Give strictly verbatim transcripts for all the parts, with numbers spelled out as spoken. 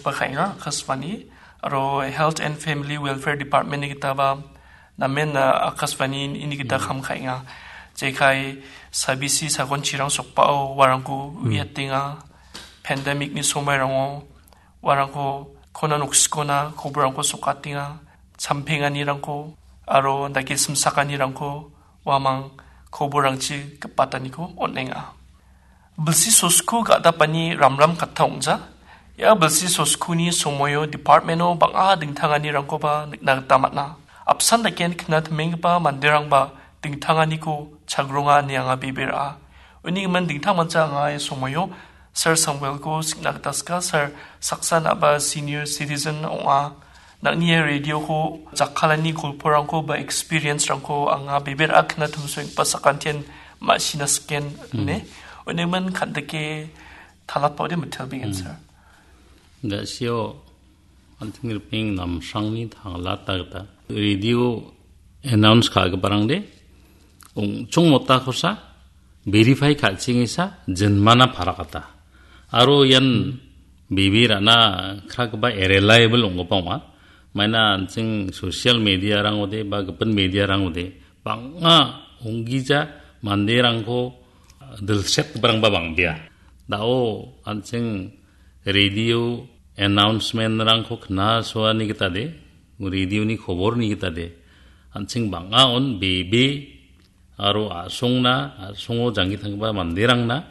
ba ka·enga, Akashvani. Aro Health and Family Welfare Department-ni gitaba namen, ah, Akashvani-ni gita kam ka·enga. Jekai sabisi sagon chirang sokbao uarangko uiatenga. Pandemic-ni somairango uarangko kona noksikona koborangko sokatenga. Champenganirangko aro dake simsakanirangko uamang koborangchi gipataniko on·enga. Bilsi sosku ga·dapani ramram katta ong·ja. Ia bilsi soskuni somoio department-o bang·a dingtanganirangkoba nikna gita man·a. Apsan daken kna timenggipa manderangba dingtanganiko chagronga ine anga bebe ra·a. Uni gimin dingtangmancha anga ia somoio Sir Samuelko sikna gita sika. Sir, saksa na·ba senior citizen ong·a. Nang·ni ia radio-ko jakkalani golporangko ba experience-rangko anga bebe ra·a kna timsoenggipa sakantian ma·sina siken ine. Unigimin kandike talatpode mitelbengen, sir. Da·sio anting ripeng namsrangni tanglata gita radio announce ka·giparangde ong·chong mota kosa verify ka·chengesa jinmana parakata. Aro ian bebe ra·na kragipa irreliable ong·gipa ong·a. Maina an·ching social media-rangode ba gipin media-rangode bang·a onggija manderangko dilsetgiparangba bang·bea. Da·o an·ching radio announcement-rangko knasoani gitade, radio-ni koborni gitade, an·ching bang·a on bebe aro a·songna, a·songo janggi tanggipa manderangna,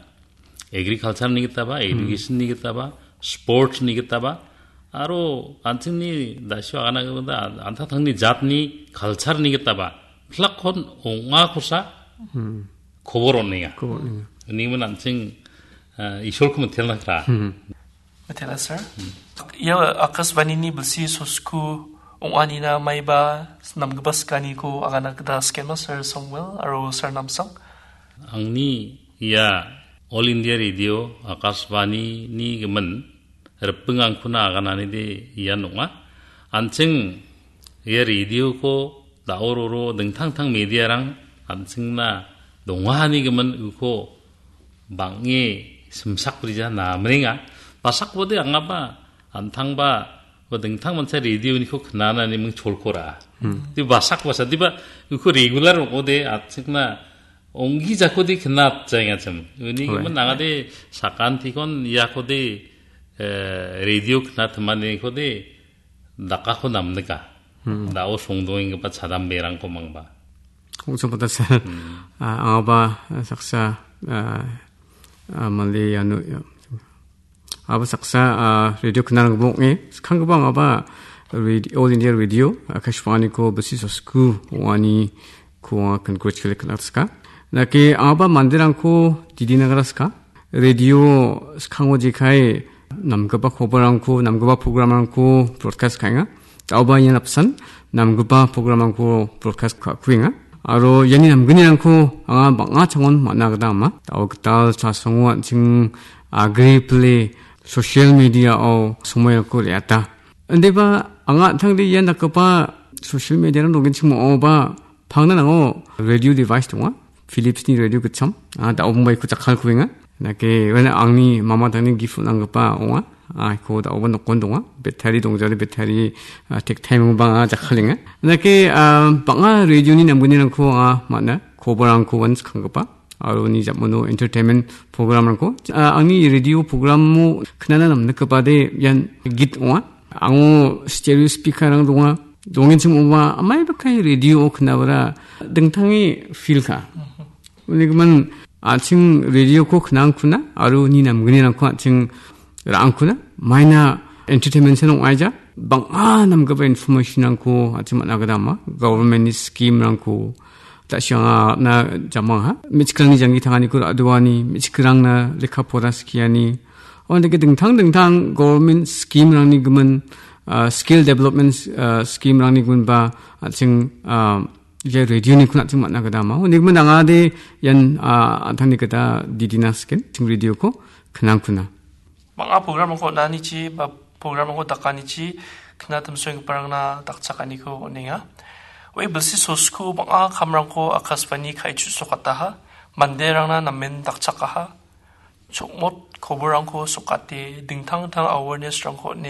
agriculture-ni gitaba, education-ni gitaba, sports-ni gitaba, aro an·chingni da·sio agana gita an-, antangtangni jatni culture-ni gitaba, plakkon ong·akosa kobor on·enga. Kobor on·enga. Unigimin an·ching, ah, Isolko mitelna kra. Mitela, sir. Ia Akashvani-ni bilsi sosku ong·anina maiba namgipa sikaniko agana gita sikenma, Sir Samuel aro Sir Namsang. Angni ia All India Radio Akashvani-ni gimin ripengangkona agananide ian ong·a. An·ching ia radio-ko da·o roro dingtangtang media-rang an·chingna dongahani gimin uko bang·e simsakbrija namrenga. Basakbode angaba an·tangba ba dingtang mancha radio-niko knanani ming cholkora. Di basak basa, diba uko regular ong·ode an·chingna onggijakode knatjaengachim. Uni gimin angade sakantikon iakode, eh, radio knatimanikode dakako namnika. Da·o songdongenggipa chadamberangko mangba. Ong·chongpata, sir. Ah, angaba, ah, saksa, ah, ah, mande iano, ia. Aba saksa, ah, radio knarangba ong·e. Skanggipa angaba radio, All India Radio, Akashvani-ko bilsi sosku ong·aniko anga congratulate knatska. Nake angaba manderangko didina graska. Radio skango jekai namgipa koborrangko, namgipa programrangko broadcast ka·enga. Da·oba ian apsan namgipa programrangko broadcast ka·kuenga. Aro iani namgnirangko anga bang·a changon man·a gita ama. Da·o gital chasongo an·ching agri pile social media-o somoirangko re·ata. Indiba anga an·tangde ian dakgipa social media-rang donggenchim ong·oba pangna nango radio device donga. Philips-ni radio gitcham. Ah, da·obongba iko jakkalkuenga. Nake, uan angni mama tangni gift on·anggipa ong·a. Ah, iko da·oba nokon donga. Battery dongjale battery, ah, tek time bang·a jakkalenga. Nake, ah, bang·a radio-ni namgnirangko anga man·a. Koborrangko uan skanggipa. Aro uni jamano entertainment program-rangko. Ah, angni radio program-o knana namnikgipade ian git ong·a. Ango stereo speaker-rang donga. Dongenchim ong·a, amai bakai radio-o knabara dingtange feel ka. Unigimin an·ching radio-ko knangkuna, aro ni namgnirangko an·ching ra·angkuna, maina entertainment-san ong·aija, bang·a namgipa information-rangko an·ching man·a gita ama, government-ni scheme-rangko, da·siangna jamangaha, me·chikrangni janggi tanganiko ra·doani, me·chikrangna lekka pora skiani, ondake dingtang dingtang government scheme-rangni gimin, ah, skill development, ah, scheme-rangni giminba an·ching, ah, ia radio-niko an·ching man·a gita ama. Unigimin angade ian, ah, an·tangni gita didina siken, an·ching radio-ko knangkuna. Bang·a program-rangko on·anichi ba program-rangko dakanichi knatimsoenggiparangna dakchakaniko on·enga. Ue bilsi sosku bang·a kamrangko Akashvani ka·e chu·sokataha, manderangna namen dakchakaha. Chokmot koborrangko sokate, dingtang dingtang awareness-rangko on·e,